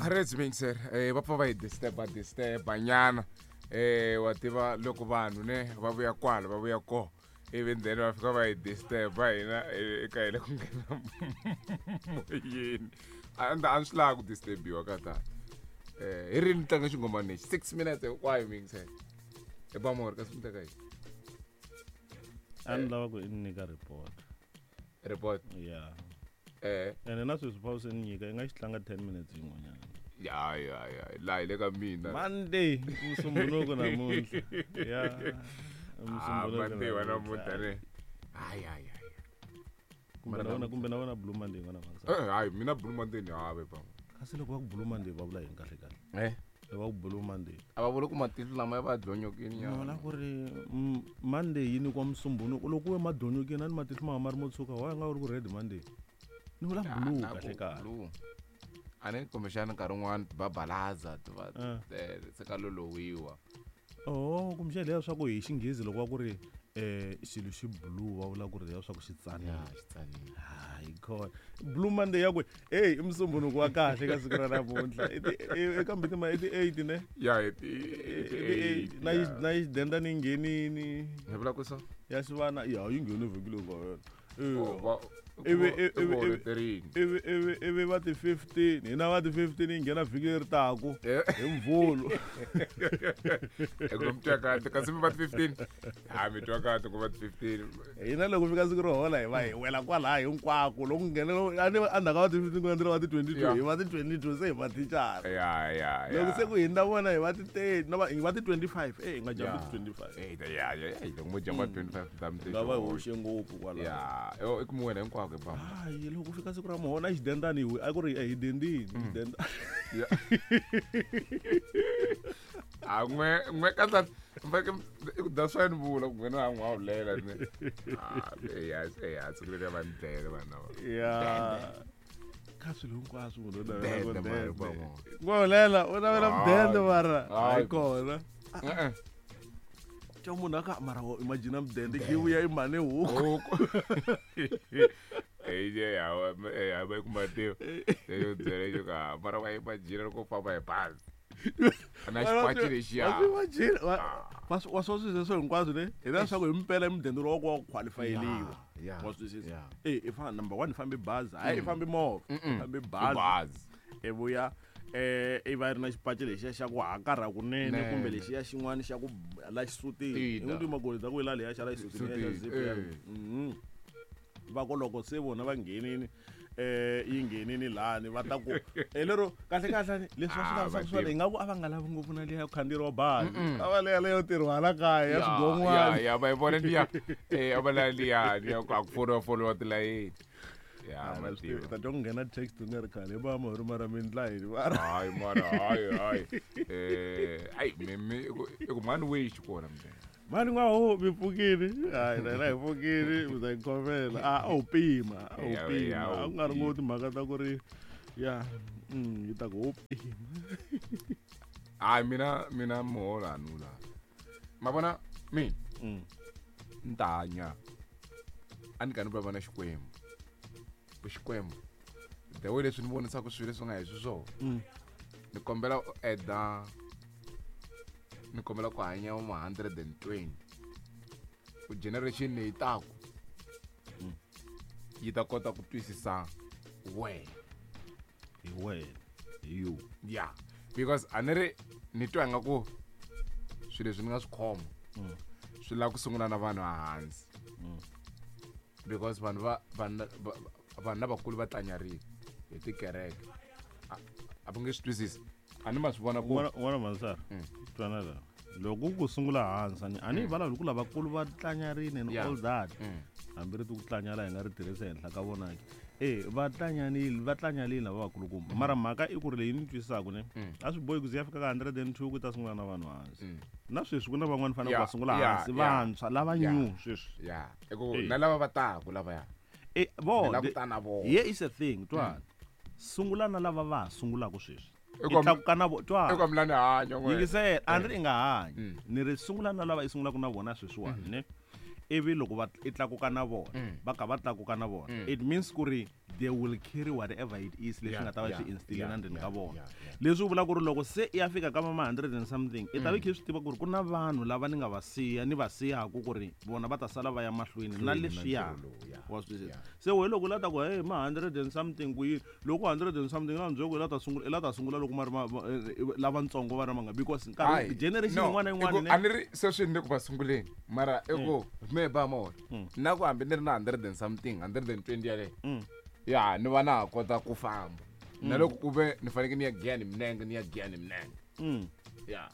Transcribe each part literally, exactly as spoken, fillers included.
Reds Mixer eh va pfa va hi disturb disturb nyana eh wa tiva loko vanhu ne va vuya kwala va vuya ko ivi then va fika va hi disturb hina eka hina ku nghena moyeni a ndzi a swi lavi ku disturbiwa ka tani eh hi rini tlanga xingomani lexi six minutes hinkwayo mixer e ba mori kasi mi teka yini a ni lava ku i ni nyika report report ya eh ene na sweswi pha se ni nyika i nga xi tlanga ten minutes yin'wanyana ya ya ya laha hi le ka mina Monday Musumbunuko namuntlha ya Ah, Musumbunuko Monday wa namuntlha. namuntlha ne hayi hayi hayi kumbe na wona kumbe na wona Blue Monday n'wana mhaka eh hayi mina Blue Monday ni have pa kasi loko va ku Blue Monday va vula yini kahle kahle eh loko va ku Blue Monday a va vuli ku matihlo lama ya va dlonyokini ni vona ku ri mm, Monday yi nyikiwa Musumbunuko loko u ye madlonyokeni a ni matihlo ma ma ri mo tshuka wa nga ri ku Red Monday ni vula blue kahle kahle blue a ni kumbexana nkarhi wun'wani ti babalaza ti va Ah. eh, se ka lolowiwa oh kumbexana leya swa ku hi xinghezi loko va ku ri um xilo xi blue va vula ku ri leya swa ku xi tsanile ya xi tsanile hayi khona Blue Monday ya ku hey i Musumbunuko wa kahle ka siku ra namuntlha I ti- i- kambe tima i ti-eight ne ya hi ti I ti-eight na yi- na xidenda ni nghenini hi vula ku so ya xivana ya yi nghene vhiki leyi nga hela Oh, va- Ivi- i ku ivi- ivi- holeterini. ivi ivi ivi va ti fifteen hina va ti fifteen yi nghena vhiki leri taku Eh. hi Mvhulu i ku mi twa kahle kasi mi va ti fifteen ha mi twa kahle ku va ti fifteen hina loko fika siku ro hola hi va hi wela kwalaya hinkwako loko nghena a ni endzhaku ka va ti fifteen ku landzela va ti twenty two Yeah. hi va ti twenty two se hi va thicara ya ya ya loko se ku hindza vona hi va ti thirty no va hi va ti twenty five e hi nga jambi ti twenty five Eh, ya ya ya loko mo jamba twenty five ta mi nga va hi hoxe ngopfu kwalaya ya yo i ku mi wela hinkwako hi bamba hayi loko fika siku ra muhona xidendani hi a ku ri hi dendini xidenda Ya. a n'we n'we kahle mfake i ku da swa ni vula ku n'wina a n'wa vulela ne ah ya ya siku leri va ni dlele vanhu lava ya ka swilo hinkwaswo munhu u navela ku Dende, mara, dende. bamo. N'wa hulela u navela mudende mara Hayi. hayi kona Eh, eh. twa munhu aka mara wo imagine mudende yi vuya i mhane huku huku eh ya ya va ku mativa yo byela yo ka mara wa imagine loko u famba hi bazi na xipaci lexiya imagine wa swi swilo sweswo hinkwaswo ne hi leswaku hi mpela i mudende lowu wa ku wa ku qualifyeliwa Ya, wa swi twisisa ya. e i fana number one i fambe bazi hayi i fambe movha i fambe I bazi bazi i vuya eh i va ri na xipaci lexiya xa ku hakarha kunene Nene. kumbe lexiya xin'wana xa ku la xisutini Tina. i n'wi magoli ta ku yila leya xa la xisutini ya xa Xisutini, zip ya eh. mhm va ku loko se vona va nghenini eh yi nghenini lani va ta ku eh lero kahle kahle leswi va swi Ah, lavisaka va swona tiva. hi nga ku a va nga lavi ngopfu na liya ya ku khandziyeriwa bazi a va leya leyo tirhiwa hala kaya ya ya swigon'wana ya va yi vona liya eh a va la liya liya ku a ku foriwa foriwa tilayini ya Ah, na swi mativa tivi, ta twa ku nghena text u nga ri khale va mahori mara mindla yini mara hayi mara hayi hayi eh ayi mi mi i ku- i ku mhani wishi kona mndeni mani n'waho mi pfukile hayi na hina hi pfukile mi ta hi khomela a a wu pima a wu Ya, ya, pima a wu a ku nga ri pima. ngopfu timhaka ta ku ri ya mm, yi ta ku wo pima hayi mina mina muholo a ni wu lavi ma vona mina Mm. ni ta hanya a ni ka ni vulavula na xikwembu ku xikwembu the way leswi ni vonisaka swilo leswi nga hi swiswona Mm. ni kombela u eda ni kombela ku hanya ma hundred and twenty ku generation leyi taku Mm. yi ta kota ku twisisa wena hi wena hi you ya because a ni ri ni twa ingaku swilo leswi ni nga swi khoma Mm. swi lava ku sungula na vanhu ehansi Mm. because vanhu va vanhu va- vanhu lavakulu va tlanyarile hi tikereke a a va nge swi twisisi a ni ma swi vona ku un'wana un'wana mansara Mm. twana la loko ku sungula hansi a ni a ni vulavuli ku lavakulu va tlanyarini and Yeah. all that Mm. hambi ri ti ku tlanyala hi nga ri tirhisa henhla ka vona ke e va tlanyanile va tlanyarile lava vakulukumba mara mhaka i ku ri leyi ni twisisaka ne Mm. a swi bohi ku ze ya fika ka hundred and two ku ta sungula na vanhu hansi Mm. na sweswi ku na van'wani fanele Yeah, ku va sungula yeah, hansi yeah. vantshwa lava Yeah. new sweswi ya i ku Eh. na lava va taku lavaya e ni vo lava ku ta na vona here is a thing twana sungula na lava va ha sungulaka sweswi I i ku- tlakuka na vo i twana ku mi la ni hanya n'we. yingisela a ni ri i nga hanyi Mm. ni ri sungula na lava i sungulaka na vona sweswiwani ne Ivi loko va i tlakuka na vona Mm. va ka va tlakuka na vona Mm. it means ku ri they will carry whatever it is leswi Yeah, nga ta va yeah, swi instilleni yeah, endzeni ka yeah, vona yeah, yeah. leswi vulaka ku ri loko se i ya fika ka ma hundred and something i ta va i kha i swi tiva ku ri ku na vanhu lava ni nga va siya ni va siyaku ku ri vona va ta sala va ya mahlweni na Mahlweni na leswiya ntirho lowu, yeah, wa swi twisisa yeah. se we loko u la ta ku hey ma hundred and something ku yini loko hundred and something la ndzhaku i la ta sungula i la ta sungula loko ma ri ma- ma- eh, lavatsongo va ri manga because nkarhi Hayi, generation no, yin'wana na i ku- yin'wana ne a ni ri sweswi ni le ku va sunguleni mara i ku me ba mona Mm. na ku hambi ni ri na hundred and something hundred and twenty yaleyo Mm. ya ni va na ha kota ku famba na loko ku ve ni fanekele ni ya giya ni minenge ni ya giya ni minenge Mm. ya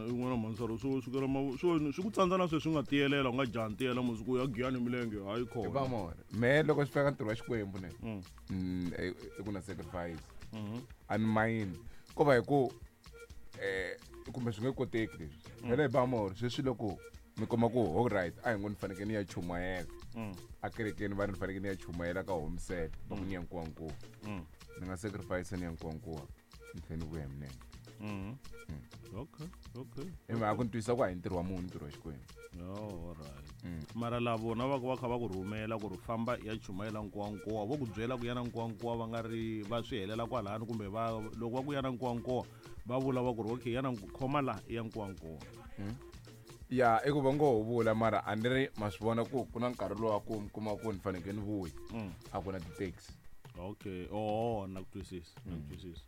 yin'wana mhansaro swo sukela ma swo swi ku tsandza na sweswi u nga tiyelela u nga jaha ntiyela masiku ya giyani milenge hayi i ba khona mona me loko swi fika ntirho wa xikwembu ne Mm. mm, i i ku na sacrifice Mhm. a ni mayini ko va hi ku um kumbe swi nge koteki leswi phela hi ba mona sweswi loko mi kuma ku all right a hi ngo ni fanekele ni ya chumayela Mm. a kerekeni va ri ni fanekele ni ya chumayela ka homisele va ku ni ya nkuwankuwa Mm. ni nga sacrifice ni ya nkuwankuwa ni tlhela ni vuya hi minenge Mhm. okay okay hi mhaka ku ni twisisa ku a hi ntirho wa munhu ntirho wa xikwembu Oh, alright Mm. mara la vona va ku va kha va ku rhumela ku ri famba i ya chumayela nkuwankuwa vo ku byela ku ya na nkuwankuwa va nga ri va swi helela kwalani kumbe va loko va ku ya na nkuwankuwa va vula va ku ri okay ya na nku- khoma la i ya nkuwankuwa ya i ku va ngo ho vula mara a ni ri ma swi vona ku ku na nkarhi lowu a ku mi kuma ku ni fanekele ni vuya Mm. a ku na ti-taxi okay oh na ku twisisa na ku twisisa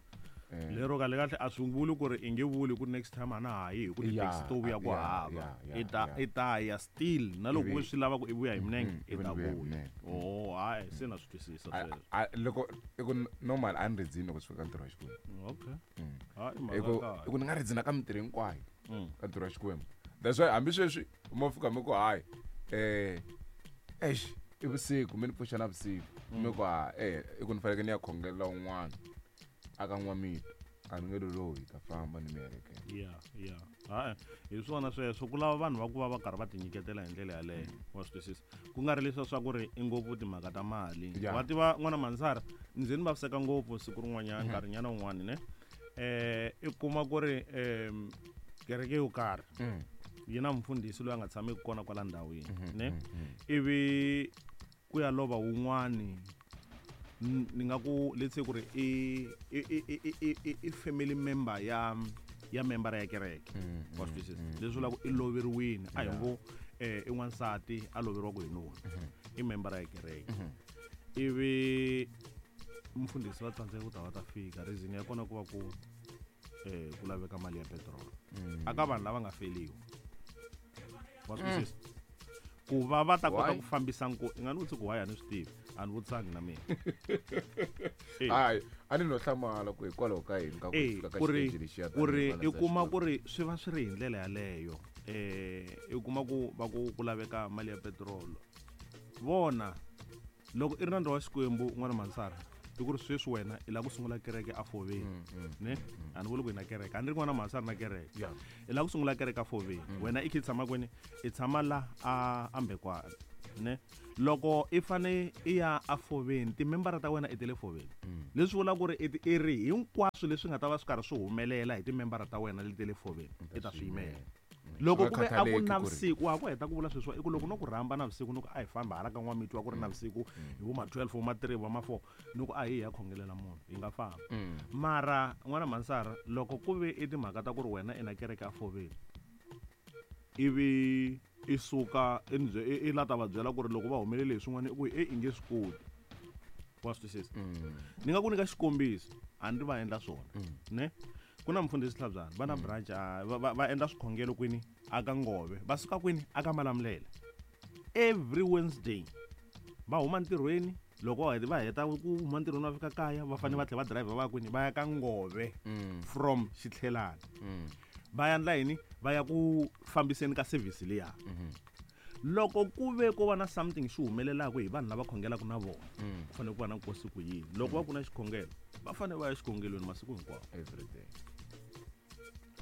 Eh. lero kahle kahle a swi vuli ku ri i nge vuli ku next time a na ha yi hi ku ti-taxi Yeah, to vuya ku yeah, hava yeah, yeah, i ta yeah. i ta ya still na loko Ivi- u swi lava ku i vuya hi minenge Mhm, i ivi ta ni vuya hi vuya minenge. oh hayi se na swi twisisa A- sweswo a- loko i ku normal a ni ridzini loko swi fika ntirho wa xikwembu okay Mm. hayi i mhaka ku kahle i ku ni nga ridzina ka mintirho hinkwayo Mm. ka ntirho wa xikwembu that's why hambi sweswi mo fika mi ku hayi um exi i vusiku mi ni pfuxa na vusiku mi ku ha eh i ku ni fanekele ni ya khongelela un'wana a ka n'wamito a ni nge lolohi ta famba ni mi heleketa ya ya hayi hi swona sweswo ku lava vanhu va ku va va karhi va tinyiketela hi ndlela yaleyo wa swi twisisa ku nga ri leswiya swa ku ri i ngopfu timhaka ta mali Ya. wa tiva n'wana mansara ndzi ni vaviseka ngopfu siku rin'wanyana nkarhinyana wun'wani ne eh i kuma ku ri um kereke yo karhi Mm. yi na mfundhisi loyi a nga tshameki kona kwala ndhawini ne Mm, mm. ivi ku ya lova wun'wani n- ni nga ku let's say ku ri i i i i i i i family member ya ya member ya kereke Mm, wa mm, swi twisisa mm, leswi vulaka i loveriwini a hi Yeah. ngo eh, i n'wansati a loveriwaka hi nuna i member ya kereke Mhm. ivi mfundhisi va tsandzeka ku ta va ta fika reason ya kona ku va ku eh, ku laveka mali ya petrol Mm. aka vanhu lava nga feliwa wa swi twisisa ku va va ta kota Why? ku fambisa nko i nga ni vutisi ku why a ni swi tivi a ni vutisangi na mina Eh. hayi a ni no hlamala ku hikwalaho ka yini ka ku Eh, fika ka ku ri xiteji lexiya ku ri tanihi i vana kuma xa ku ri swi va swi ri hi ndlela yaleyo eh i kuma ku va ku ku laveka mali ya petrol vona loko i ri na ntirho wa xikwembu n'wana mansara i ku ri sweswi wena i lava ku sungula kereke afoveni Mm, mm. ne a ni vuli ku hi na kereke a ni ri n'wana mansara na kereke Yeah. i lava ku sungula kereke afoveni wena i kha i tshama kwini i tshama la a ambekwana ne loko i fane i ya afoveni timembara ta wena i ti le foveni Mm. leswi vulaka ku ri i ti- i ri hinkwaswo leswi nga ta va swi karhi swi humelela hi timembara ta wena leti le foveni i ta swi yimela loko Swi ku nga ve a ku khathaleki na ku ri- vusiku wa ha ku heta ku vula sweswiwa i ku loko no ku rhamba na vusiku ni ku a hi famba hala ka n'wamiti wa ku ri na vusiku hi vo ma twelve vo ma three vo ma four ni ku a hi hi ya khongelela munhu hi nga famba Mm. mara n'wana mansara loko ku ve i timhaka ta ku ri wena i na kereke afoveni ivi i suka i ni bye- i i la ta va byela ku ri loko va humelele hi swin'wana i ku e i nge swi koti wa swi twisisa Mm. ni nga ku nyika xikombiso a ni ri va endla swona Mm. ne ku na mfundhisi hlabyana va na branch a va, va, va endla swikhongelo kwini aka ngove va suka kwini aka malamulele every wednesday va huma ntirhweni loko va heta- va heta ku huma ntirhweni va fika kaya va fanele va tlhela va driver va ya kwini va ya ka ngove Mm. from xitlhelani Mm. va ya ndla yini va ya ku fambiseni ka service liya Mhm. loko ku ve ko va na something xi humelelaka hi vanhu lava khongelaka na vona Mm. ku fanele ku va na nkosi ku yini loko va ku na xikhongelo va fanele va ya xikhongelweni masiku hinkwawo Every day.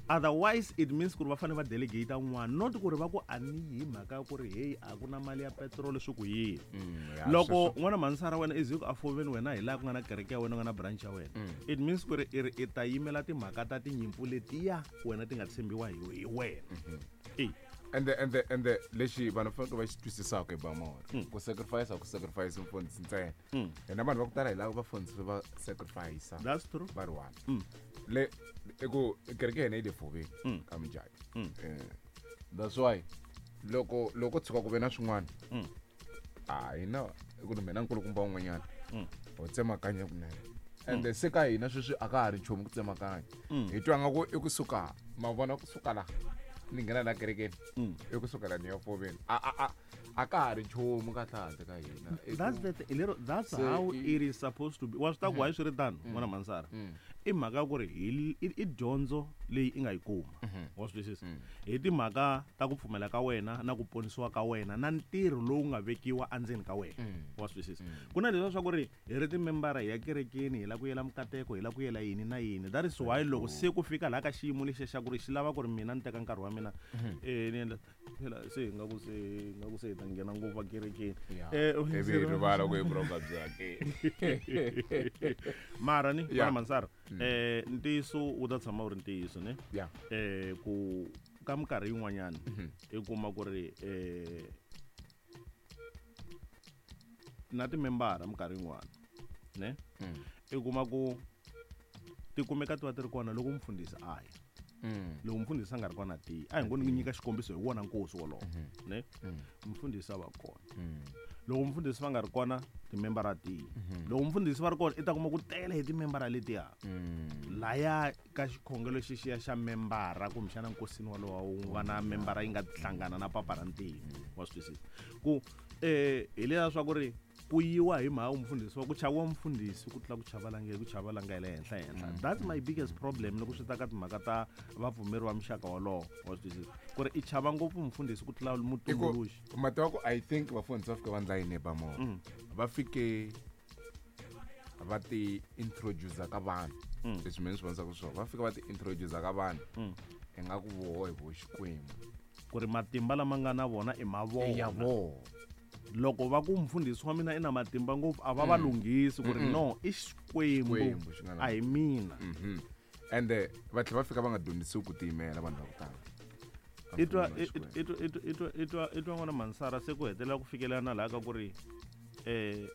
otherwise it means ku ri va fanele va delegate un'wana not ku ri va ku a ni yi hi mhaka ya ku ri heyi a ku na mali ya petrol swi ku yini Mm, ya, loko sweswo- n'wana mansara wena i ze ku afoveni wena hi laha ku nga na kereke ya wena ku nga na branch ya wena Mm. it means ku ri i ri i ta yimela timhaka ta tinyimpfu letiya wena ti nga tshembiwa hi hi wena Mhm. e Ende ende ende lexi vanhu fanele va xi twisisaka hi Bamora ku sacrifice ku sacrifice mfundhisi ntsena hina vanhu va ku tala hi lava vafundhisi va sacrifice That's true. Va ri one le i ku kereke hina yi le foveni ka Mujaji. Eh, that's why loko loko tshuka ku ve na swin'wana a hina i ku mina nkulukumba un'wanyana ho tsemakanya kunene ende se ka hina sweswi a ka ha ri nchumu ku tsemakanya hi twa nga ku i kusuka ma vona kusuka laha ni nghena la kerekeni i kusuka la ni ya foveni a a a a ka ha ri nchumu kahle handle ka hina I That's ku- the th- lero that's Se how i- it is supposed to be. Wa swi ta ku why swi ri tano n'wana Mansara i mhaka ya ku ri hi i i dyondzo leyi i nga yi kuma wa swi twisisa hi timhaka ta ku pfumela ka wena na ku ponisiwa ka wena na ntirho lowu nga vekiwa endzeni ka wena wa swi twisisa ku na leswiya swa ku ri hi ri timembara hi ya kerekeni hi lava ku yela mikateko hi lava ku yela yini na yini. That is why loko se ku fika laha ka xiyimo lexiya xa ku ri xi lava ku ri mina ni teka nkarhi wa mina eh ni endla phela se hi nga ku se hi nga ku se hi ta nghena ngopfu ekerekeni. Ya. Eh, Ivi hi rivala ku hi vuronga byake. Mara ni Yeah. n'wana Mansara eh ntiyiso wu ta tshama wu ri ntiyiso ne Yeah. eh ku ka minkarhi yin'wanyana i kuma ku ri eh na timembara minkarhi yin'wana ne i kuma ku ti kumeka ti va ti ri kona loko mfundhisi a ya loko mfundhisi a nga ri kona tiyi a hi ngo ni nyika xikombiso hi wona nkosi wolowo ne mfundhisi a va kona loko mfundhisi va nga ri kona timembara tiyi loko mfundhisi va ri kona i ta kuma ku tele hi timembara letiya laya ka xikhongelo xexiya xa membara kumbexana nkosini walowo wu nga na membara yi nga hlangana na papa ra ntima wa swi twisisa ku eh hi leswiya swa ku ri ku yiwa hi mhaka mfundhisi wa ku chaviwa mfundhisi ku tlula ku chava lange ku chava langa hi le henhla henhla. That's my biggest problem loko swi ta ka timhaka ta vapfumeri va muxaka wolowo wa swi twisisa ku ri i chava ngopfu mfundhisi ku tlula mutumbuluxi. Mati wa ku I think vafundhisi va fika va ndla yini Bamora va fike va ti introduce ka vanhu leswi mina swi vonisaka swona va fika va ti introduce ka vanhu ingaku voho hi vo Xikwembu ku ri matimba lama nga na vona i ma ya vona voho loko va ku mfundhisi wa mina i na matimba ngopfu a va va lunghisi ku ri no i Xikwembu Xikwembu xi nga na a hi mina. Mhm. Ende va tlhela va fika va nga dyondzisiwi ku tiyimela vanhu va ku tala I twa i twa i twa i twa i twa i twa n'wana Mansara se ku hetelela ku fikelela na laha ka ku ri eh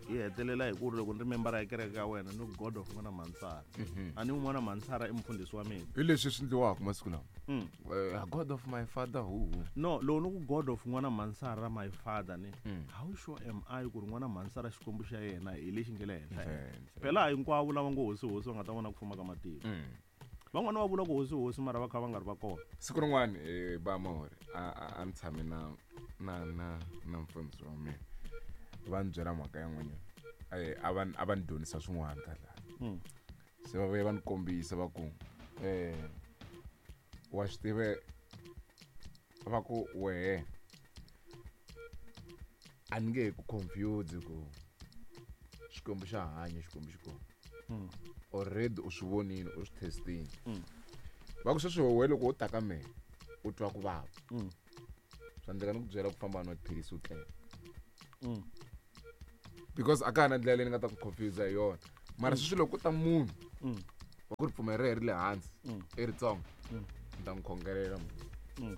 hi hetelela hi ku ri loko ni ri membara ya kereke ya wena ni God of n'wana Mansara a ni n'wana Mansara i mfundhisi wa mina. Hi leswi swi endliwaka masiku lawa. Mm. Eh, God of my father who who. No loko ni ku God of n'wana Mansara my father ni how sure am I ku ri n'wana Mansara Xikwembu xa yena hi lexi nge le henhla Henhla. phela hinkwavo lava ngo hosi hosi va nga ta vona ku fuma ka matiko van'wana va vula ku hosi hosi mara va kha va nga ri va kona. Siku rin'wana eh, Bamore a a- a ni tshame na na na na mfundhisi wa mina va ni byela mhaka ya n'wanyana Eh, a va a va ni dyondzisa swin'wana kahle Mm. se va vuye va ni kombisa va ku eh wa swi tive va ku wehe a ni nge he ku confuse ku Xikwembu xa hanya Xikwembu xi kona Mm. already u swi vonile u swi testini Mm. va ku sweswi wehe loko wo ta ka mehe u twa ku vava Mm. swa endleka ni ku byela ku famba nwa tiphilisi u tlela Mm. because a ka ha na ndlela leyi ni nga ta ku confuse hi yona mara sweswi loko ku ta munhu Mm. wa ku ripfumelo ra yena ri le hansi Mm. i ritsongo Mm. ni ta n'wi khongelela munhu Mm.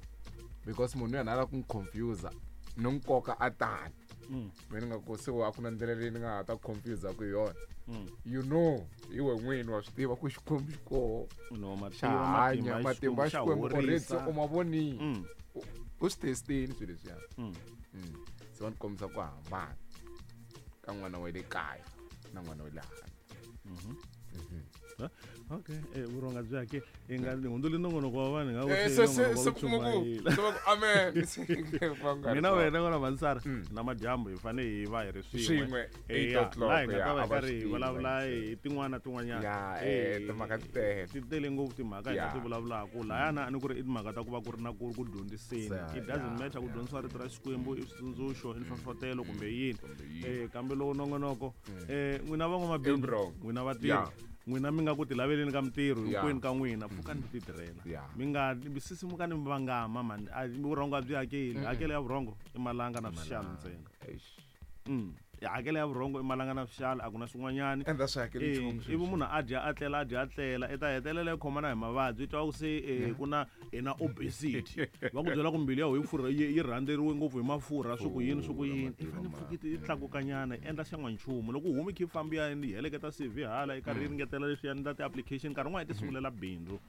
because munhu yena a lava ku n'wi confuse ni n'wi koka a tani Mm. me ni nga ku se a ku na ndlela leyi ni nga ha ta ku confuse ku hi yona Mm. you know hi we n'wini wa swi tiva ku Xikwembu xi koho No, xa mativa hanya matimba ya matimba ya Xikwembu xa Xikwembu already se horisa. u ma vonile Mm. U- u swi testini swilo leswiya. Mm. Mm. Se va ni kombisa ku hambana ka n'wana wa le kaya na n'wana wa le handle. Eh, okay eh vurhonga byi hake hi nga ni hundzuli nongonoko wa vanhu hi nga ku Eh, se se se nongonoko wa se ku kuma ku chumayela. se va ku amen. Se va nga ri Mina swona. wena n'wana Mansara Mm. na madyambu hi fanele hi va hi ri swin'we Swin'we, Eh, eight ya, o'clock, laha hi nga ya, ta va a hi va karhi swi hi tivi vulavula va hi tin'wana na tin'wanyana. Ya, Eh, eh, timhaka ti tele. ti tele ngopfu timhaka hi nga Ya. ti vulavulaka lahayana a ni ku ri i timhaka ta ku va ku ri na ku ku dyondziseni. Se, It doesn't ya, matter ku ya. dyondzisiwa rito ra Xikwembu i switsundzuxo i nhlohlotelo kumbe yini. Kumbe yini. Eh, kambe lowu nongonoko eh n'wina van'wamabindzu Wrong. n'wina vatirhi Ya. n'wina mi nga ku tilaveleni ka mintirho Ya. hinkwenu ka n'wina pfukani mi titirhela Ya. mi nga sisimukani mi vangama mani. A vurhongo a byi hakeli hakelo ya vurhongo i malanga na swixalo ntsena. Eish. Mm. Hakela ya vurhongo i malanga na vuxala a ku na swin'wanyani. Enda swi hakeli nchumu ivi munhu a dya a tlela a dya a tlela i ta hetelela yi khomana hi mavabyi i twa ku se eh, ku na i na obesity va ku byela ku mbilu ya wena yi furha yi yi rhandzeriwe ngopfu hi mafurha swi ku yini swi ku yini i fanele pfuki yi tlakukanyana yi endla xan'wanchumu loko u humi kha yi famba ya yi heleketa C V hala yi karhi yi ringetela leswi ya endla ti-application nkarhi wun'wana yi ti sungulela bindzu.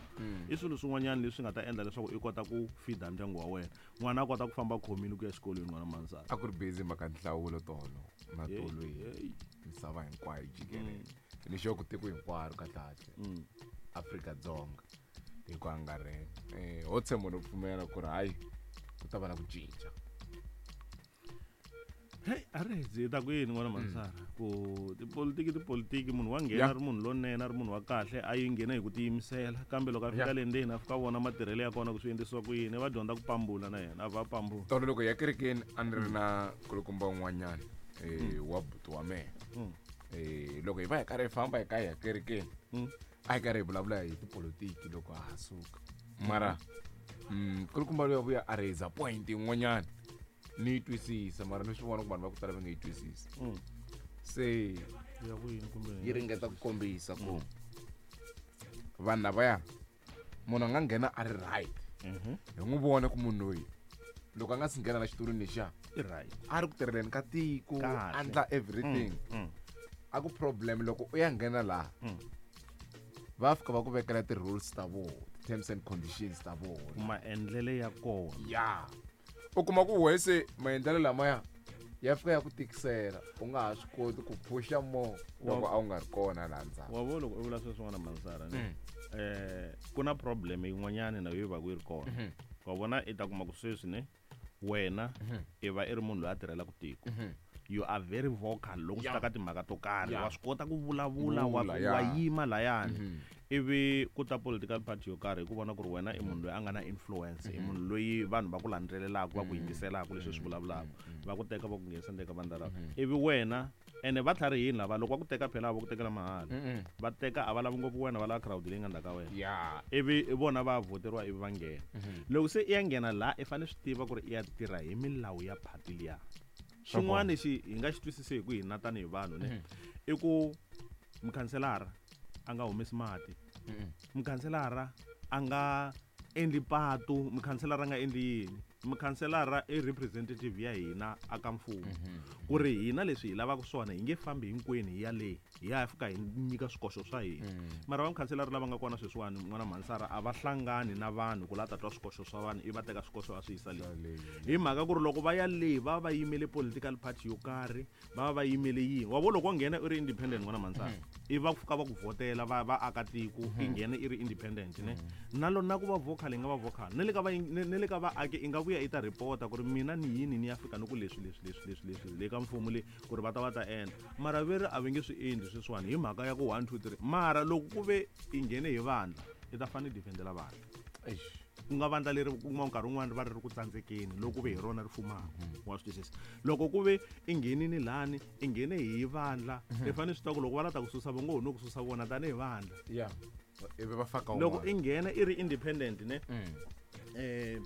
I swilo swin'wanyana leswi nga ta endla leswaku i kota ku feeda ndyangu wa wena, n'wana a kota ku famba khomile ku ya xikolweni, n'wana mansana. A ku ri busy mhaka nhlawulo tolo na tolo hi Hey. misava hinkwayo jikelele ni xo ku tiko hinkwaro kahlekahle Mm. Afrika-Dzonga hi ku angarhela um ho tshemba no pfumela ku ri hayi ku ta va na ku cinca. Hey, a ri hi ta ku yini n'wana mansara ku tipolitiki tipolitiki munhu wa nghena Yeah. a ri munhu lonene a ri munhu wa kahle a yi nghena hi ku tiyimisela kambe loko a fika Yeah. le ndzeni a fika vona matirhelo ya kona ku swi endlisiwa ku yini va dyondza ku pambula na yena a va pambula. Tolo loko hi ya kerekeni a ni ri na kulukumba un'wanyana um wa buti wa mehe. Mm. um loko hi va hi karhi hi famba hi ka hi ya kerekeni Mm. a hi karhi hi vulavula hi tipolotiki loko ha ha suka mara mm, kulukumba loyi a vuya a raise point yin'wanyana ni yi twisisa mara ni swi vona ku vanhu va ku tala va nga yi twisisi. Mm. Se ya ku yini kumbe yi ringeta ku kombisa ku vanhu lavaya munhu a nga nghena a ri right Mhm. hi n'wi vona ku munhu loyi loko a nga si nghena na xitulwini lexiya i right a ri ku tirheleni ka tiko Kahle. a ndla everything. Mm. A ku problem loko u ya nghena laha Mm. va fika va ku vekela ti-rules ta vona, ti-terms and conditions ta vona. Maendlele ya kona. Ya u kuma ku wehe se maendlelo lamaya ya fika ya ku tikisela u nga ha swi koti ku phusha more loko a wu nga ri kona laha ndzhaku. Wa vo loko u vula sweswin'wana mansara ne Mm. eh ku na problem yin'wanyana na yo yi va ku yi ri kona. Mhm. Wa vona i ta kuma ku sweswi ne wena i va i ri munhu loyi a tirhelaka tiko. Mhm. You are very vocal loko swi ta Yeah. ka timhaka to karhi. Yeah. Wa swi kota ku vulavula wa, Vula, yeah. wa yima layani. Mhm. Ivi ku ta political party yo karhi hi ku vona ku ri wena i munhu loyi a nga na influence, i munhu loyi vanhu va ku landzelelaka va ku yingiselaka leswi swi vulavulaka va ku teka va ku nghenisa ndzeni ka vandla lava ivi wena ene va tlharihini lava loko va ku teka phela a va ku tekela mahala. Mm-mm. Va teka a va lavi ngopfu wena va lava crowd leyi nga ndzhaku ka wena. Ya. Ivi vona va voteriwa ivi va nghena. Loko se i ya nghena laha i fanele swi tiva ku ri i ya tirha hi milawu ya phati liya. Xin'wana lexi hi nga xi twisisi hi ku hina tanihi vanhu ne i ku mukhanselara a nga humesi mati, Mm-mm. mukhanselara a nga endli patu, mukhanselara a nga endli yini, mukhanselara i representative ya hina aka mfumo ku ri hina leswi hi lavaka swona hi nge fambi hinkwenu hi ya le hi ya fika hi nyika swikoxo swa hina. Mara va mukhanselara lava nga kona sweswiwani n'wana mhansara a va hlangani na vanhu ku la ta twa swikoxo swa vanhu i va teka swikoxo a swi yisa le hi mhaka ku ri loko va ya le va va yimele political party yo karhi va va va yimele yini wa vo loko wa nghena i ri independent n'wana mhansara i va fika va ku vhotela va va aka tiko i nghena i ri independent ne na lo na ku va vocal i nga va vocal ne le ka va ne ne le ka vaaki i nga vuya i ta report-a ku ri mina ni yini ni ya fika ni ku leswi leswi leswi leswi leswi le ka mfumo le ku ri va ta va ta endla mara ve ri a va nge swi endli sweswiwani hi mhaka ya ku one two three mara loko ku ve i nghene hi vandla i ta fanele i defendela vandla. Eish. Ku nga vandla leri ku kuma nkarhi wun'wani ri va ri ri ku tsandzekeni loko ku ve hi rona ri fumaka wa swi twisisa loko ku ve i nghenini lani i nghene hi vandla i fanele swi tiva ku loko va la ta ku susa va ngo ho no ku susa vona tanihi vandla. Ya ivi va faka Loko un'wana. i nghena i ri independent ne Mm. eh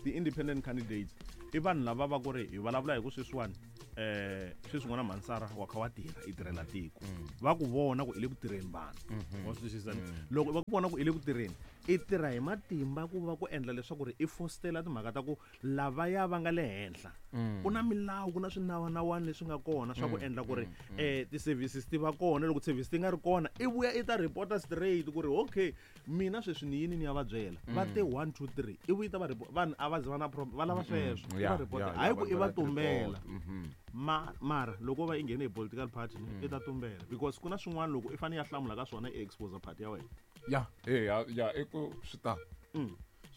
ti-independent candidates i vanhu lava va ku ri hi vulavula hi ku sweswiwani eh sweswi n'wana mhansara wa kha wa tirha i tirhela tiko va ku vona ku i le ku tirheni vanhu wa swi twisisa ne? Loko va ku vona ku i le ku tirheni i tirha hi matimba ku va ku endla leswaku ri i fostela timhaka ta ku lavaya va nga le henhla ku na milawu ku na swinawanawani leswi nga kona swa ku endla ku ri eh ti-services ti va kona loko service ti nga ri kona i vuya i ta reporta straight ku ri okay mina sweswi ni yini ni ya va byela va te one two three i vuyi ta va report vanhu a va zi va na problem va lava sweswo i Ya, va report ya, hayi ya, ku i va va va tumbela. report. Mhm. Ma mara loko va i nghene hi political party ne i ta tumbela because ku na swin'wana loko i fanele ya hlamula ka swona i expose party ya wena. Ya eh, ya ya i ku swi ta Mm.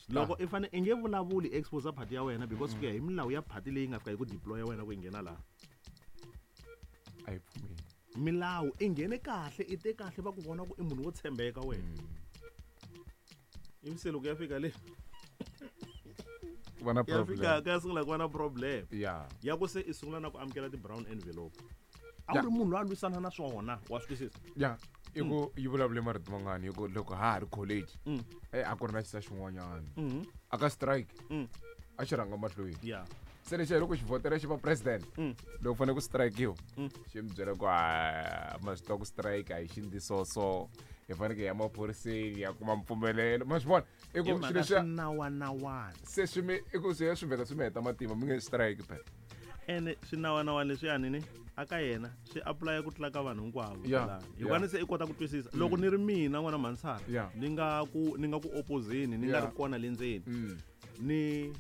Loko i fane i nge vulavuli expose party ya wena because ku ya hi milawu ya party leyi nga fika yi ku deploya wena ku i nghena laha. A yi pfumeli. Milawu i nghene kahle i te kahle va ku vona ku i munhu wo tshembeka wena ivi se loko ya fika le Ku va na ya fika problem. ka ya sungula ku va na problem Ya. ya ku se i sungula na ku amukela ti-brown envelope a wu Ya. ri munhu loyi a lwisana na swona wa swi twisisa. Ya i ku yi vulavule marito mangani hi ku loko ha ha ri college Mm. eh a ku ri na xisa xin'wanyana Mhm. a ka strike Mm. a xi rhanga mahlweni ya Se lexi loko xi vhotela xi va president loko fanele ku strikiwa xi mi byela ku a ma swi tiva ku strike a hi xindi so so hi fanekele hi ya maphoriseni ya kuma mpfumelelo ma swi vona i ku hi swilo mhaka leswiya swinawanawana se swi mi i ku swi ya swi vheta swi mi heta matimba mi nge strike phela ene swinawanawani leswiyani ni aka yena swi apulaya ku tlula ka vanhu hinkwavo Yeah, kwalano. Hikuva yeah. ni se i kota ku twisisa loko ni ri mina n'wana mhansana Yeah. ni nga ku ni nga ku opposeni ni nga Yeah. ri kona le ndzeni Mm. ni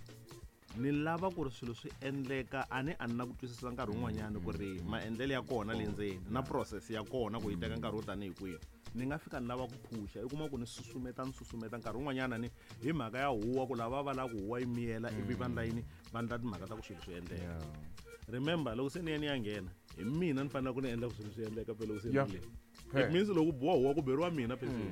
ni lava ku ri swilo swi endleka a ni a ni na ku twisisa nkarhi wun'wanyana ku ri maendlelo ya kona le ndzeni na process ya kona ku yi teka nkarhi wo tanihi kwihi ni nga fika ni lava ku phusha i kuma ku ni susumeta ni susumeta nkarhi wun'wanyana ni hi mhaka ya huwa ku lava va lava ku huwa yi miyela ivi va ndla yini va ndla timhaka ta ku swilo swi endleka Yeah. remember loko se ni ya ni ya nghena hi mina ni fanele ku ni endla ku swilo swi endleka phela loko se ni Yeah. ri le Fair. it means loko ku biwa huwa ku beriwa mina phezulu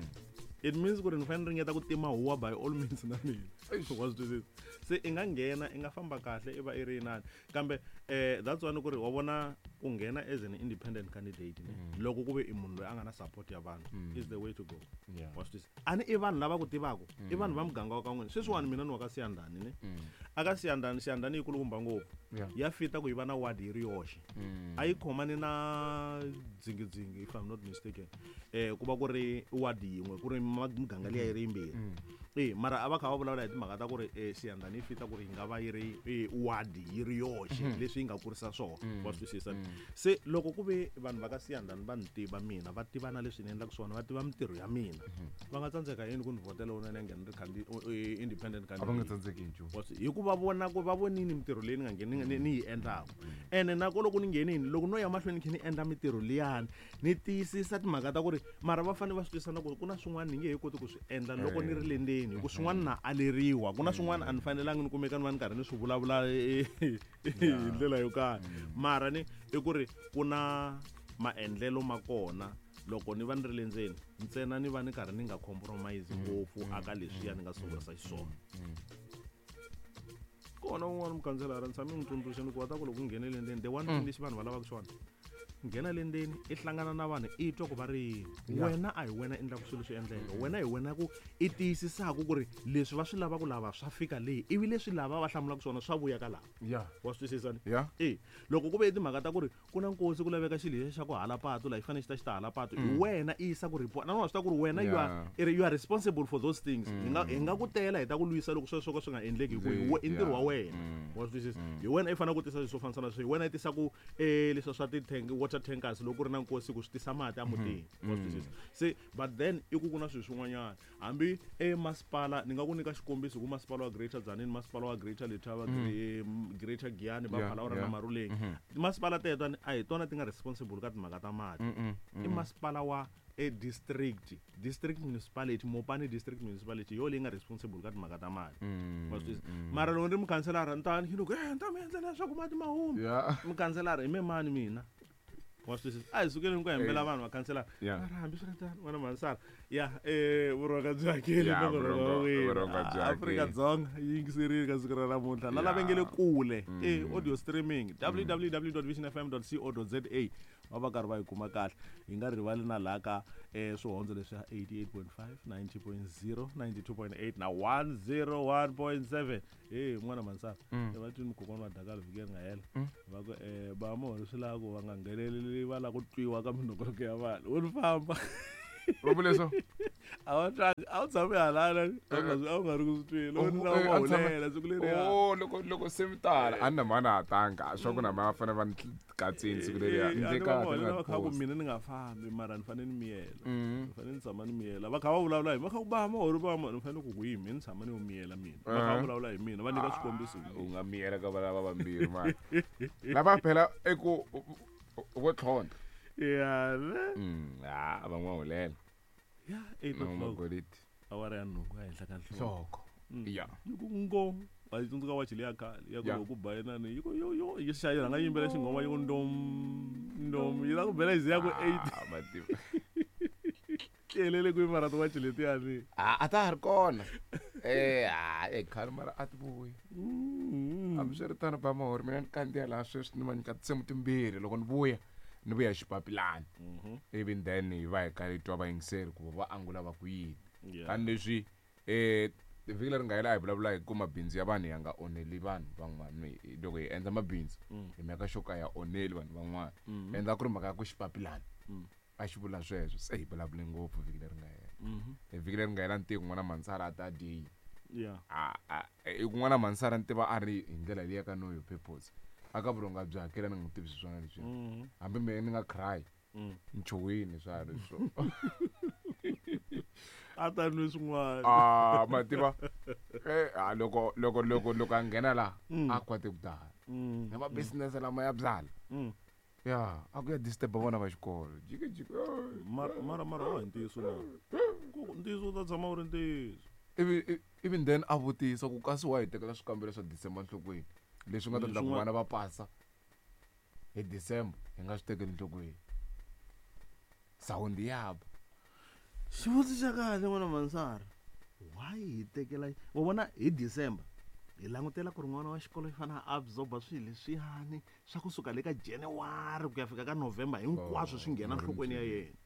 it means ku ri ni fanele ni ringeta ku tima huwa by all means na mina Eish. wa swi twisisa se i nga nghena i nga famba kahle i va i ri inani kambe um that's why ni ku ri wa vona ku nghena as an independent candidate ne loko ku ve i munhu loyi a nga na support ya vanhu is the way to go Yeah. wa swi twisisa a ni i vanhu lava ku tivaka i vanhu va muganga wa ka n'wina sweswiwani mina ni wa ka siyandhani ne a ka siyandhani siyandhani yi kulukumba ngopfu Yeah. ya fita ku yi va na ward yi ri yoxe Mm. a yi khomani na dzingidzingi if I'm not mistaken eh ku va ku ri ward yin'we ku ri ma- miganga liya yi ri yimbirhi e mara a va kha va vulavula hi timhaka ta ku ri eh, siyandhani yi fita ku ri yi nga va yi ri eh, ward yi ri yoxe leswi yi nga kurisa swona wa swi twisisa se loko ku ve vanhu va ka siyandhani va ni tiva mina va tiva na leswi ni endlaka swona va tiva mintirho ya mina va nga tsandzeka yini ku ni vhotela wona ni ya nghena ri candi- eh, independent A va nga candidate tsandzeki hi nchumu Wa swi- hikuva vona ku va vonini mintirho leyi ni nga ngheni ni, ni yi endlaka ene nako loko ni nghenini loko no ya mahlweni ni kha ni endla mintirho liyani ni tiyisisa timhaka ta ku ri mara va fanele va swi twisisa na ku ku na swin'wana ni nge he koti ku swi endla loko ni ri le ndzeni hi ku swin'wana na aleriwa ku na swin'wana a ni fanelangi ni kumeka ni va ni karhi ni swi vulavula eh, hi ndlela yo karhi mara ni i ku ri ku na maendlelo ma kona loko ni va ni ri le ndzeni ntsena ni va ni karhi ni nga compromise ngopfu aka leswiya ni nga sungurisa xiswona kona un'wana mukhanselara ni tshame ni n'wi tsundzuxa ni ku wa ta ku loko u nghene le ndzeni the one thing lexi vanhu va lavaka xona nghena le ndzeni i hlangana na vanhu i twa ku va ri yini wena a hi wena endlaka swilo swi endleka wena hi wena ku i tiyisisaka ku ri leswi va swi lavaka lava swa fika leyi ivi leswi lava va hlamulaka swona swa vuya ka lava Yeah. wa swi twisisa ni Yeah. e loko ku ve i timhaka ta ku ri ku na nkosi ku laveka xilo lexi xa ku hala patu laha yi fanele xi ta xi ta hala patu hi wena i yisa ku report na wa swi tiva ku ri wena you are Yeah. i ri- you are responsible for those things hi nga hi nga ku tela hi ta ku lwisa loko sweswo ka swi nga endleki hi ku hi we- i ntirho wa Yeah. wena wa swi twisisa hi wena i fanele ku tisa swilo swo fambisana sweswo hi wena i tisaku um leswiya swa ti-tank water tankers loko ku ri na nkosi ku swi tisa mati emutini wa swi twisisa se but then i ku ku na swilo swin'wanyana hambi emasipala ni nga ku nyika xikombiso ku masipala wa greater Tzaneen masipala wa greater Letaba mm. greater Giyani Yeah, Baphalawura yeah. na Maruleng timasipala teto a hi tona ti nga responsible ka timhaka ta mati i masipala wa e district district municipality Mopani district municipality yo leyi nga responsible ka timhaka ta mati wa swi twisisa mara loko ni ri mukhanselara ni ta ni ku eh ni ta mi endlela leswaku mati ma huma Yeah. mukhanselara hi me mani mina wa swi twisisa a hi sukeni ku hembela vanhu vakhanselara Yeah. mara hambi swi ri tano n'wana mhanisana ya um vurhonga byi hakeli Yeah, nongonoko wa vurhongo- wena. vurhonga byi Ah, hakeli. Afrika-Dzonga yi yingiserile ka siku ra namuntlha na lava Yeah. nge le kule e audio streaming www visionfm co za va va karhi va yi kuma kahle hi nga rivali na laha ka um swihondzo leswi ya eighty-eight point five ninety point zero ninety-two point eight na one zero one point seven e n'wana mhanisana va twini kokwana wa dakala vhiki leri nga hela va ku um ba mohori swi lava ku va nga ngheneleli va lava ku twiwa ka minongonoko ya vanhu wo ni famba Va vule swo? a wa twangi a wu tshame halana a wu nga swi- a wu nga ri ku swi tweni loko ni lava Eh, a tshame- hulela siku leriya Oh, loko loko se mi tala a ni na mhani a tanga swa ku na ma fanele va ni katsini siku leriya Eh, ndzi a ni va kahle hulela ni va nga kha ku post. mina ni nga fambi mara ni fanele ni miyela Mm. ni fanele ni tshama ni miyela va kha va vulavula hi va kha ku ba mahori ba ni fanele ku ku hi mina ni tshama ni yo miyela mina va kha va Eh. vulavula hi mina va nyika swikombiso hi U mina nga miyela ka valava vambirhi mani lava phela i ku vo tlhontlha ya ne Mm, ha va n'wa hulela ya eight no o'clock magoliti awara ya nhungu ehenhla ka nhloko nhloko ya yi ku ngo wa yi tsundzuka wachi leya khale ya ku Ya. loko ku ba inani yi ku yo yo yi xa yi rhanga yi yimbela xinghoma yi ku ndom ndom yi la ku bela yi ze ya ku eight Ah, mativa ti helele kwihi mara tiwachi letiyani Ah, a ta ha ri kona eh ah eh khale mara a ti vuyi hambiswiritano ba mahori mina ni kandziya laha sweswi ni va nyika tinsimu timbirhi loko ni vuya ni vuya hi xipapilani ivi then hi va hi karhi hi twa vayingiseri ku va angula va ku yini Yeah. tanihileswi um Vhiki leri nga hela a hi vulavula hi ku mabindzu ya vanhu ya nga onheli vanhu van'wana. Loko hi endla mabindzu hi mhaka xo ka ya onheli vanhu van'wana. Endla ku ri mhaka ya ku xipapilana. A xi vula sweswo se hi vulavule ngopfu vhiki leri nga hela. Vhiki leri nga hela ni tiva n'wana Mansara a ta dyi. Yeah. A a kun'wana Mansara ni tiva a ri hi ndlela leyi ka no your purpose. A ka vurhonga bya hakela ni nga tivi swona leswi. Hambi mina ni nga cry. Ni chuhwini swa ri swo. A ta nwi swin'wana. Ah, ma tiva. Eh, a loko loko loko loko a nghena la a kwate ku tala. Na ma business lama ya byala. Ya, a ku ya disturb vona va xikolo. Jiki jiki. Mara mara mara wa ntiyiso na. Ku ntiyiso ta tshama u ri ntiyiso. Ivi even then a vutisa ku kasi wa hi tekela swikambelo swa December nhlokweni. Leswi nga ta endla ku vana va pasa hi December hi nga swi tekeli nhlokweni. Sound ya ba. Xivutiso xa kahle n'wana Mansara. Why hi tekela wa vona hi December hi langutela ku ri n'wana wa xikolo xi fanele a absorba swilo leswiyani swa kusuka le ka January ku ya fika ka November hinkwaswo swi nghena nhlokweni ya yena.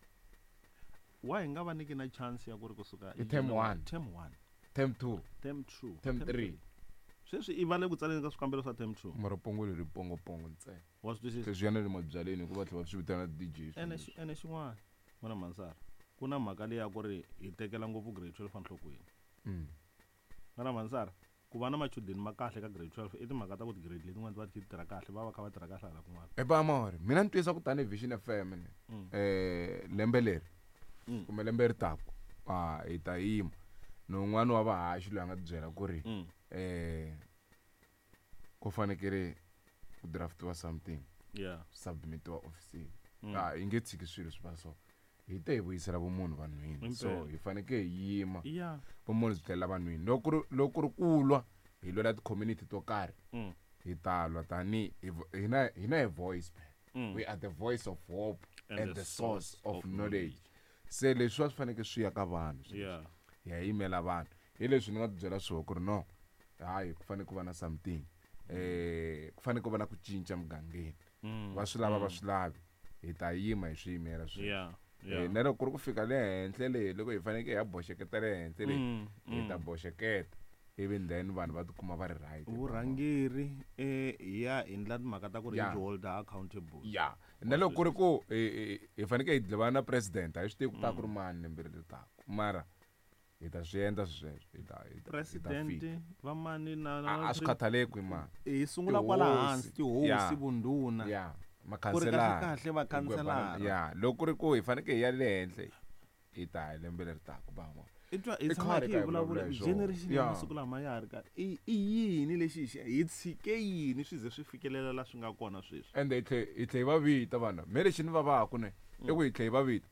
Why hi nga va nyiki na chance ya ku ri kusuka hi term one, term one, term two, term two, term three. Sweswi i va le ku tsaleni ka swikambelo swa term two. Mara pongo leri pongo pongo ntsena. Wa swi twisisa? Sweswi yana le mabyaleni hikuva tlhela va swi vitana D J. Ene ene xin'wana n'wana Mansara ku na mhaka leyi ya ku ri hi tekela ngopfu grade twelve enhlokweni. N'wana Mansara ku va na machudeni ma kahle ka grade twelve i timhaka ta ku ti-grade letin'wana ti va ti tirha kahle va va kha va tirha kahle hala kun'wana. E ba mori mina ni twisa ku tani Vision F M ne eh lembe leri kumbe lembe ri taku a hi ta yima no un'wana wa vahaxi loyi a nga byela ku ri eh ku fanekele ku draftiwa something yeah submitiwa office ah yi nge tshiki swilo swi va so hi te hi vuyisela vumunhu vanhwini so hi fanekele hi yima yeah vumunhu byi tlhelela vanhwini loko ri loko ri kulwa hi lwela ti-community to karhi hi ta lwa tani hina hina hi voice mm. we are the voice of hope and, and the, the source source of, of knowledge se leswi swi fanekele swi ya ka vanhu yeah hi ya yimela vanhu hi leswi ni nga byela swona ku ri no hayi ku fanele ku va na something eh ku fanele ku va na ku cinca mugangeni va swi lava va swi lavi hi ta yima hi swi yimela sweswo yeah eh na loko ku ri ku fika le henhla le loko hi fanekele hi ya boxeketa le henhla le hi ta boxeketa even then vanhu va tikuma va ri right vurhangeri eh hi ya hi ndla timhaka ta ku ri Yeah. hi hold her accountable ya na loko ku ri ku hi hi fanekele hi dlivana na president a hi swi tivi ku ta ku ri mani lembe leri taka mara hi ta swi endla sweswo hi ta hi ta- hi ta president fika. va mani na A- a swi khathaleki mani hi sungula kwala hansi tihosi Yeah. vundhuna ya ku ri kahle makhanselara kahle vakhanselara ya loko ku ri ku hi fanekele hi ya le henhla hi ta hi lembe leri taka ba ma i twa hi I tshama khale hi ka hi hi vulavula vulavula hi swona. generation ya Yeah. masiku lama ya ha ri kahle i i yini lexi hi xi hi tshike yini swi ze swi fikelela la swi nga kona sweswi ende hi tlhe hi tlhe hi va vita vanhu me lexi ni vavaku ne i ku hi tlhe hi va vita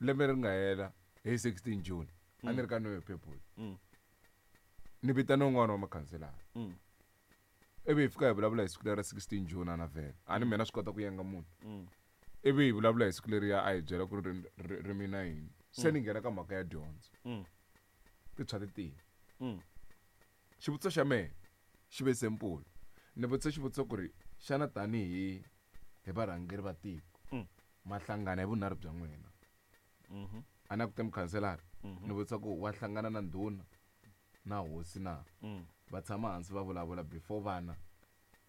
lembe ri nga hela hi sixteen June a ni ri ka Know Your People Mm. ni vitana un'wana wa makhanselara Mm. ivi hi fika hi vulavula hi siku leri ra sixteen June a na vhele a ni mina swi kota ku yenga munhu Mm. ivi hi vulavula hi siku leriya a hi byela ku ri ri- ri mina yini se ni nghena ka mhaka ya dyondzo Mm. ti tshwa ti tiya Mm. xivutiso xa mehe xi ve simple ni vutisa xivutiso ku ri xana tanihi hi varhangeri va tiko Mm. ma hlangana hi vunharhu bya n'wina Mhm. a na ku te mukhanselara Mhm. ni vutisa ku wa hlangana na ndhuna na hosi na Mm. va tshama hansi va vulavula before vana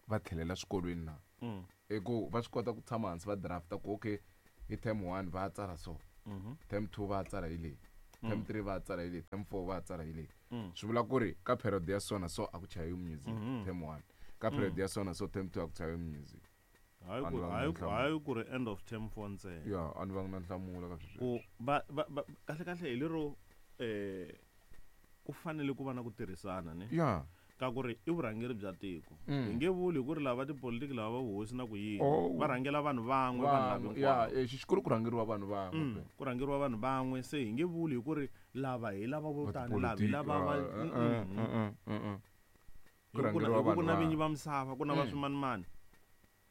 va tlhelela swikolweni na Mm. i ku va swi kota ku tshama hansi va drafta ku okay hi term one va tsala so Mhm. term two va tsala hi leyi term three va tsala hi leyi term four va tsala hi leyi Mm. swi vula ku ri ka period ya so na so a ku chayiwi music Mhm. term one ka period ya so na so term two a ku chayiwi music Hayi Vanhu ku va nga hayi ku nhlamulo. hayi ku ri end of term four ntsena ya a ni va na nhlamulo ka sweswo ku va va va- kahle kahle hi lero eh ku fanele ku va na ku tirhisana ne ya ka ku ri i vurhangeri bya tiko Mm. hi nge vuli hi ku ri lava tipolitiki lava va vuhosi na ku yini Oh. va rhangela vanhu van'we vanhu lava vanhu ya hinkwavo eh, xikulu ku rhangeriwa vanhu van'we Mm, ku rhangeriwa vanhu van'we se hi nge vuli hi ku ri lava hi lava vo tani lava hi lava va Eh, Mm, mm, mm. Ku Hi ku na- rhangeriwa hi ku ku vanhu na vinyi van'we. va misava ku na va Mm. swimanimani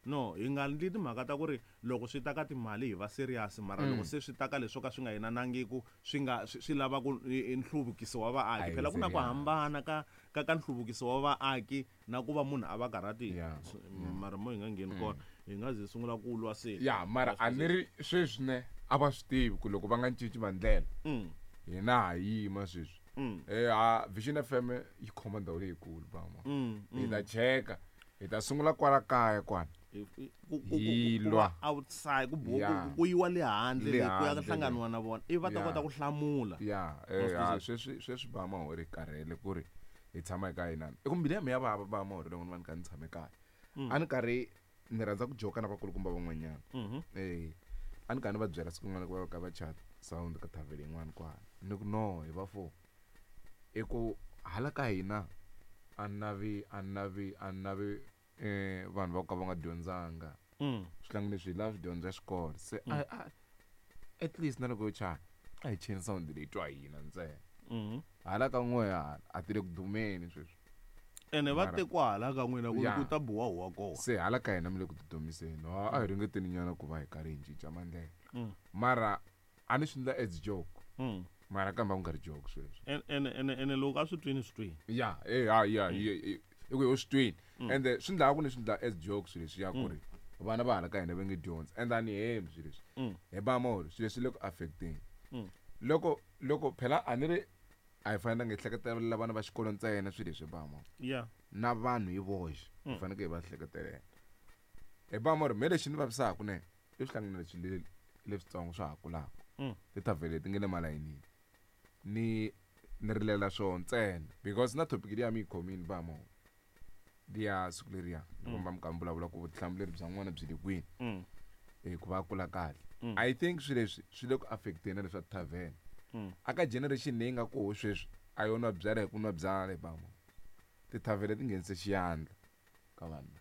no hi nga ndli timhaka ta ku ri loko swi ta ka timali hi va serious mara Mm. loko se swi ta ka leswo ka swi nga yenanangiku swi nga swi swi lava ku i- i nhluvukiso wa A vaaki hi phela ku na ku serious. hambana ka ka ka nhluvukiso wa vaaki na ku va munhu a va karhatile Yeah. So, mara mo hi nga ngheni kona hi nga ze sungula ku lwa se ya mara a ni ri sweswi ne a va swi tivi ku loko va nga cinci mandlela Mm. hina ha yima sweswi Mm. Eh ha Vision F M yi khoma ndhawu leyikulu bama. Mm, Hi mm. ta cheka. Hi ta sungula kwala kaya kwana. Hi- hi- ku- ku- ku- Hi ku- ku lwa. va outside ku bo- Yeah. ku- ku yiwa le handle Le le ku ya handle hlanganiwa na vona ivi va ta Yeah. kota ku hlamula. Ya, eh ha sweswi sweswi bama ho ri karhele ku ri hi tshama eka hina. I ku mbilu ya mina ya vava bama ho ri loko ni va ni kha ni tshame kaya. A ni karhi ni rhandza ku joka na vakulukumba van'wanyana. Mhm. Eh a ni karhi ni va byela siku rin'wana ku va ka va chat sound ka thavhele yin'wana kwala. Ni ku no hi va four. I ku hala ka hina a ni navi a ni navi a ni navi eh vanhu va ku ka va nga dyondzanga. Mm. Swihlangi leswi hi lava swi dyondza xikolo. Se a a at least na loko yo chaya a hi cheni sound leyi twa hina ntsena. Mhm. Hala ka n'we hala a ti le ku dumeni sweswi. Ene va Mara- te kwala ka n'wina ku Yeah. ku ta biwa huwa kona. Se hala ka hina mi le ku tidumiseni. Ha a hi ringeteni nyana ku va hi karhi hi cinca mandlela. Mm. Mara a ni swi endla as joke. Mm. Mara kambe a ku nga ri joke sweswo. En- ene ene ene loko a swi twini swi twini. Ya, eh ha ya i ku hi swi twini. Ende swi ndlaku ni swi ndla as joke swilo leswi ya ku ri vana va hala ka hina va nge dyondzi. Ende a ni hembi swilo leswi. Mm. Hi ba molo swilo leswi le ku affecteni. Mm. Loko loko phela a ni ri a hi fanelanga hi hleketelela vana va xikolo ntsena swilo leswi ba molo. Yeah. Na vanhu hi voxe hi fanekele hi va hleketelela. Hi ba molo me lexi ni vavisaka ne i swihlangano leswi le leswitsongo swa ha kulaka. Mm. Tithavhele leti nga le malayinini. Ni ni rilela swona ntsena because na topic liya mi yi khomile ba molo. Liya siku leriya loko mi kha mi vulavula ku vutihlamuleri bya n'wana byi le kwini. Mm. Eh ku va a kula kahle. Mm. I think swilo leswi swi le ku affecteni na leswa tithavhele. Mm. A ka generation leyi nga koho sweswi a yo nwa byala hi ku nwa byala hi ba molo. Tithavhele ti nghenise xiyandla ka vanhu.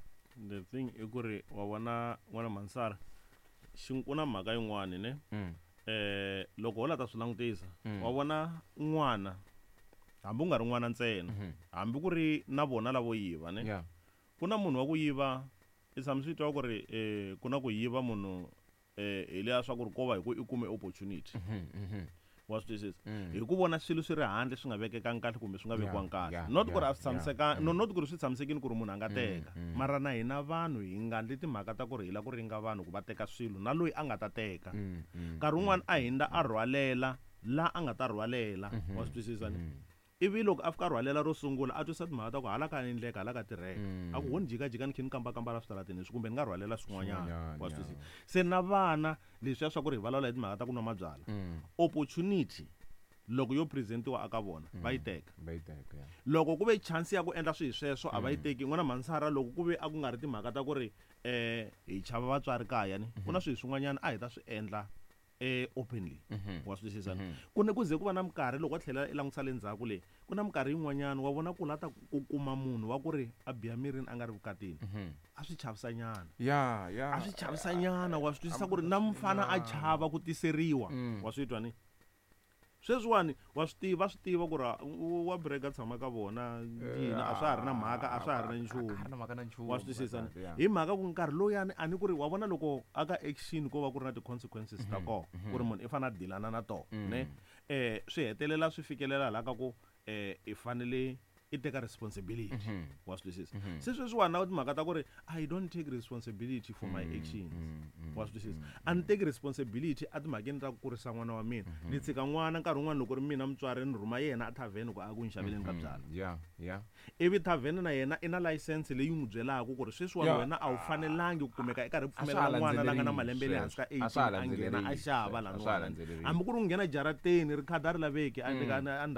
The thing i ku ri wa vona n'wana Mansara xi ku na mhaka yin'wani ne. Mm. Eh loko ho la ta swi langutisa Mm. wa vona n'wana hambi u nga ri n'wana ntsena Mhm. hambi ku ri na vona lavo yiva ne. Yeah. Ku na munhu wa ku yiva i tshama swi twa ku ri eh ku na ku yiva munhu eh hi liya swa ku ri ko va hi ku i kume opportunity. Mhm, mhm. Wa swi twisisa? Mm. Hi ku vona swilo swi ri handle swi nga vekekangi kahle kumbe swi nga Yeah, vekiwangi kahle. yeah, Not ku ri yeah, a swi tshamisekanga, yeah. no, not ku ri swi tshamisekile ku ri munhu a nga teka. mm. Mara na hina vanhu hi nga ndli timhaka ta ku ri hi lava ku ringa vanhu ku va teka swilo na loyi a nga ta teka. Mm, mm, Nkarhi wun'wani a hindza a rhwalela la a nga ta rhwalela. Wa swi twisisa ni? mm. Ivi loko a fika a rhwalela ro sungula a twisa timhaka ta ku hala ka endleka hala ka tirheka. Mm. A ku ho ni jikajika ni kha ni kambakamba la switarateni leswi kumbe ni nga rhwalela swin'wanyana. Swin'wanyana, Wa swi twisisa? yeah. Se na vana leswiya swa ku ri hi vulavula hi timhaka ta ku nwa mabyalwa. Mm. Opportunity loko yo presentiwa aka vona va yi teka. Va yi teka, yeah. Loko ku ve chance ya ku endla swilo sweswo a va yi teki. N'wana Mansara loko ku ve a ku nga ri timhaka ta ku ri eh hi chava vatswari kaya ni ku na swilo swin'wanyana a hi ta swi endla eh openly. Mhm. Wa swi twisisa ni? Ku ne ku ze ku va na minkarhi loko wa tlhela i langutisa le ndzhaku le ku na minkarhi yin'wanyana wa vona ku la ta ku kuma munhu wa ku ri a biha mirini a nga ri vukatini. Mhm. A swi chavisanyana. Yeah, yeah. A swi chavisanyana wa swi twisisa ku ri na mfana a chava ku tiseriwa. Mm. Wa swi twa ni? Sweswiwani wa swi tiva, va swi tiva ku ri wa break a tshama ka vona yini a swa ha ri na mhaka, a swa ha ri na nchumu. A na mhaka na nchumu. Wa swi twisisa ni? Yeah. Hi mhaka ku nkarhi lowuyani a ni ku ri wa vona loko aka action ko va ku ri na ti-consequences ta kona ku ri munhu i fanele a dilana na tona ne. Eh swi hetelela swi fikelela laha ka ku eh i fanele i teka responsibility. Wa swi twisisa? Se sweswiwani na timhaka ta ku ri I don't take responsibility for my actions. Wa swi twisisa? A ni teki responsibility a timhakeni ta ku kurisa n'wana wa mina. Ni tshika n'wana nkarhi wun'wani loko ri mina mutswari ni rhuma yena a thavheni ku a ku ni xaveleni ka byalwa. Yeah, yeah. Ivi thavheni na yena i na license leyi n'wi byelaka ku ri sweswiwani Yeah. wena a wu fanelangi ku kumeka i karhi A swa pfumelela ha n'wana la nga na landzelerisi malembe le hansi ka sweswo. A swa ha eighteen a nghena a landzelerisi xava sweswo. A swa ha laniwani. landzelerisi. Hambi ku ri ku nghena jarateni ri khadi a ri laveki a endhawini.